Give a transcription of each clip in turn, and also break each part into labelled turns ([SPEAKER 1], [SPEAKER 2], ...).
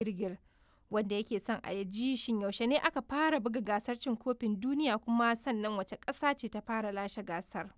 [SPEAKER 1] Girgir, wanda yake son a ji shin yaushe ne aka fara buga gasar cin kofin duniya kuma sannan wace ƙasa ce ta fara lashe gasar.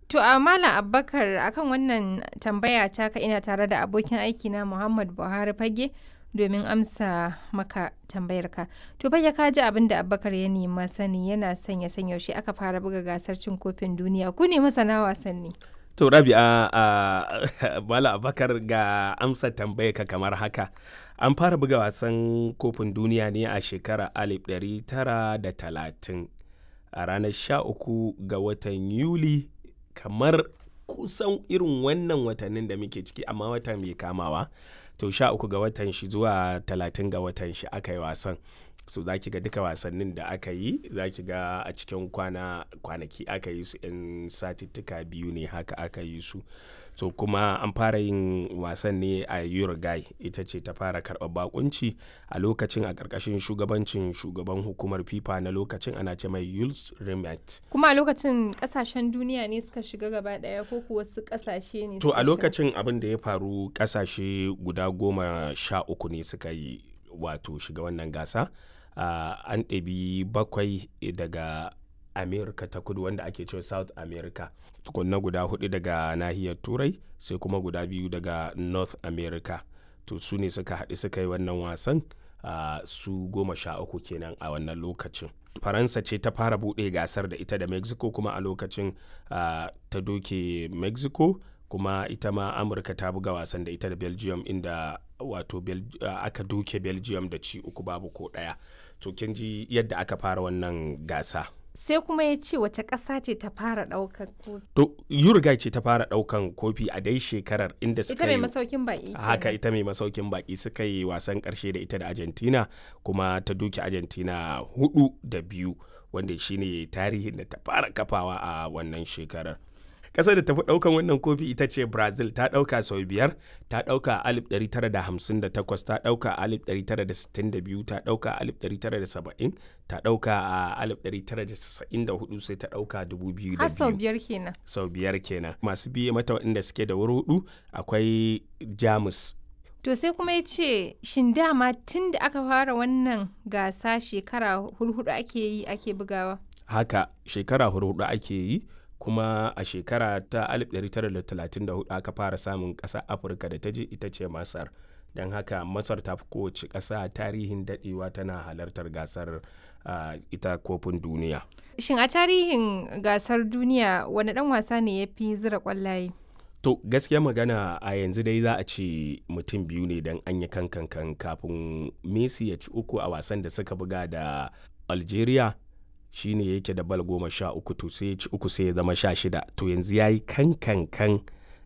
[SPEAKER 1] To a Malam Abubakar, akan wannan tambaya taka ina tare da abokin aikina Muhammad Buhari Fage domin amsa maka tambayarka. To Fage, ka ji abin da Abubakar ya nema sani, yana son ya san yaushe aka fara buga gasar cin kofin duniya. Ku ne masana wasanni.
[SPEAKER 2] To Rabi'a, a Malam Abubakar, ga amsa tambayarka kamar haka. An fara buga wasan kofin duniya ne a shekarar 1930 a ranar 13 ga watan Yuli, kamar kusan irin wannan watannin da muke ciki, amma wata mai kamawa. To 13 ga watan shi zuwa 30 ga watan shi aka yi wasan. So za ki ga duka wasannin da aka yi, za ki ga a cikin kwana kwanaki aka yi su, 'yan satittika biyu ne haka aka yi su. So kuma an fara yin wasan ne a Uruguay, ita ce ta fara karɓar bakunci a lokacin, a ƙarƙashin shugabancin shugaban hukumar FIFA na lokacin, ana ce mai Jules Rimet.
[SPEAKER 1] Kuma a lokacin ƙasashen duniya ne suka shiga gaba ɗaya ko kuwa wasu ƙasashe ne
[SPEAKER 2] To
[SPEAKER 1] suka
[SPEAKER 2] a
[SPEAKER 1] shiga?
[SPEAKER 2] lokacin abin da ya faru, ƙasashe guda 13 ne suka yi, wato shiga wannan gasa. An ɗabi bakwai daga America ta Kudu, wanda ake cewa South America. Tukunna guda hudu daga nahiyar Turai, sai kuma guda biyu daga North America. To su ne suka haɗu suka yi wannan wasan, su 13 kenan a wannan lokacin. Faransa ce ta fara buɗe gasar da ita da Mexico, kuma a lokacin ta doke Mexico. Kuma ita ma Amurka ta buga wasan da ita da Belgium, inda wato aka doke Belgium da ci uku babu ko ɗaya. To kin ji yadda aka fara wannan gasa.
[SPEAKER 1] Sai kuma ya ce wace ƙasa ce ta fara ɗaukar kofi.
[SPEAKER 2] To Uruguay ce ta fara ɗaukan kofi a dai shekarar, inda
[SPEAKER 1] Ita
[SPEAKER 2] suka
[SPEAKER 1] mai
[SPEAKER 2] yi
[SPEAKER 1] masaukin baƙi
[SPEAKER 2] haka
[SPEAKER 1] kenan.
[SPEAKER 2] Ita mai masaukin baki, suka yi wasan karshe da ita da Argentina, kuma ta doke Argentina 4-2, wanda shine tarihin da ta fara kafawa a wannan shekarar. Ƙasar da tafi ɗaukan wannan kofi ita ce Brazil, ta ɗauka sau biyar: ta ɗauka a 1958, ta ɗauka a 1962, ta ɗauka a 1970, ta ɗauka a 1994, sai ta ɗauka 2002.
[SPEAKER 1] Har sau biyar kenan.
[SPEAKER 2] Sau biyar kenan. Masu biye mata waɗanda suke da wuri hudu, akwai Jamus.
[SPEAKER 1] To sai kuma ya ce shin dama tun da aka fara wannan gasa shekara hurhudu ake yi ake bugawa?
[SPEAKER 2] Haka, shekara hudu ake yi, kuma a shekara ta 1934 aka fara samun ƙasa Afirka da ta je, ita ce Masar. Don haka Masar ta fi kowace ƙasa tarihin daɗewa tana halartar gasar, ita kofin duniya.
[SPEAKER 1] Shin a tarihin gasar duniya wani ɗan wasa ne ya fi zira ƙwallaye?
[SPEAKER 2] To gaskiya magana, a yanzu dai za a ce mutum biyu ne, don an yi kankan kafin Messi ya ci uku a wasan da suka buga da Algeria, shine yake da bal 13, to sai ya ci uku sai ya zama 16. To yanzu ya yi kankankan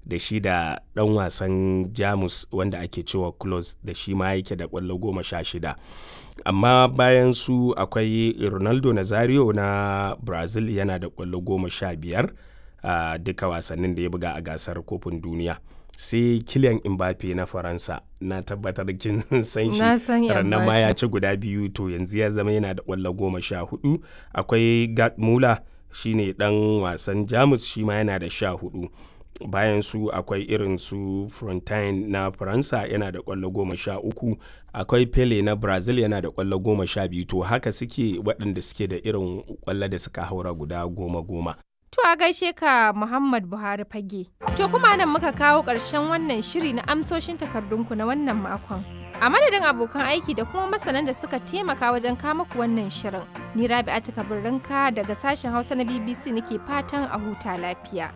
[SPEAKER 2] da shi da ɗan wasan Jamus wanda ake cewa Klose, da shi ma yake da ƙwallo 16. Amma bayan su akwai Ronaldo Nazario na Brazil, yana da ƙwallo 15 a duka wasannin da ya buga a gasar kofin duniya. Sai Kylian Mbappe na Faransa, na tabbatar kin san shi.
[SPEAKER 1] Na san
[SPEAKER 2] Rannan ma
[SPEAKER 1] Mbappe.
[SPEAKER 2] ya ci guda biyu, to yanzu ya zama yana da ƙwallo 14. Akwai Gerd Muller, shine dan wasan Jamus, shi ma yana da 14. Bayan su akwai irin su Frontine na Faransa, yana da ƙwallo 13. Akwai Pele na Brazil, yana da ƙwallo 12. To haka suke waɗanda suke da irin ƙwallo da suka haura guda goma goma.
[SPEAKER 1] To a gaishe ka Muhammad Buhari Fage. To kuma nan muka kawo ƙarshen wannan shiri na amsoshin takardunku na wannan makon. A madadin abokan aiki da kuma masanan da suka taimaka wajen kama ku wannan shirin. Ni Rabi'a Kabirrinka daga sashen Hausa na BBC nake fatan a huta lafiya.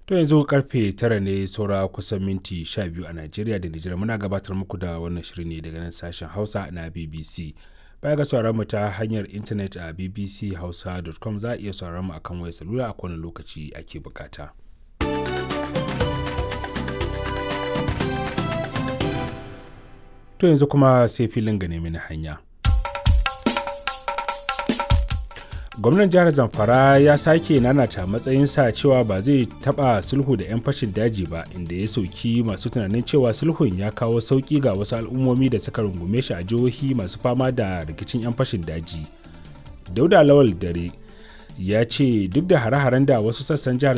[SPEAKER 3] To yanzu karfe 9 ne saura kusan minti 12 a Najeriya da Nijar. Muna gabatar muku da wannan shiri ne daga nan sashen Hausa na BBC. Baya ga sauraron mu ta hanyar intanet a bbchausa.com, za a iya sauraron mu akan wayar salula a kowane lokaci ake bukata. To yanzu kuma sai filin gane mini hanya. Gwamnan jihar Zamfara ya sake nanata matsayinsa cewa ba zai taba sulhu da 'yan fashin daji ba, inda ya sauki masu tunanin cewa sulhun ya kawo sauki ga wasu al'ummomi da suka rungume shi a jihohi masu fama da rikicin 'yan fashin daji. Dauda Lawal Dare Ya ce duk da hare-haren da wasu sassan jihar